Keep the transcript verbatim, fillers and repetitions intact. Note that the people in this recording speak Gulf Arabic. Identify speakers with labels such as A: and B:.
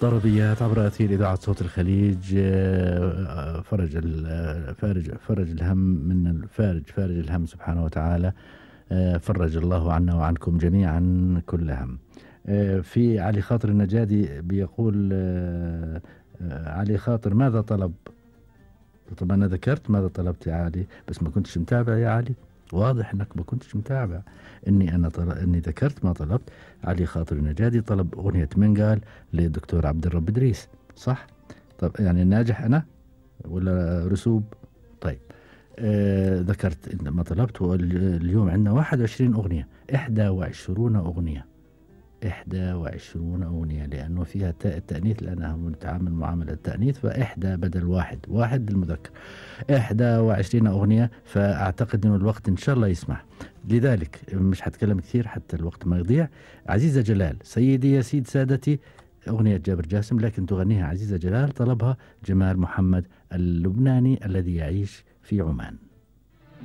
A: طربيات عبر أثير إذاعة صوت الخليج. آه، فرج ال- فارج فرج الهم من الفارج فارج الهم سبحانه وتعالى. آه، فرج الله عنا وعنكم جميعا كل هم. آه، في علي خاطر النجادي بيقول آه، آه، علي خاطر ماذا طلب؟ طب أنا ذكرت ماذا طلبت يا علي، بس ما كنتش متابع يا علي. واضح انك ما كنتش متابع. اني انا طل... اني ذكرت ما طلبت. علي خاطر النجادي طلب اغنية منقال للدكتور عبد الرب ادريس، صح؟ طب يعني ناجح انا ولا رسوب؟ طيب. آه ذكرت إن ما طلبت. اليوم عندنا واحد وعشرين اغنية، احدى وعشرون اغنية، إحدى وعشرون أغنية، لأنه فيها تاء التأنيث، لأنها نتعامل معاملة التأنيث، فإحدى بدل واحد، واحد للمذكر، إحدى وعشرين أغنية. فأعتقد أنه الوقت إن شاء الله يسمح، لذلك مش هتكلم كثير حتى الوقت ما يضيع. عزيزة جلال، سيدي يا سيد سادتي، أغنية جابر جاسم، لكن تغنيها عزيزة جلال، طلبها جمال محمد اللبناني الذي يعيش في عمان.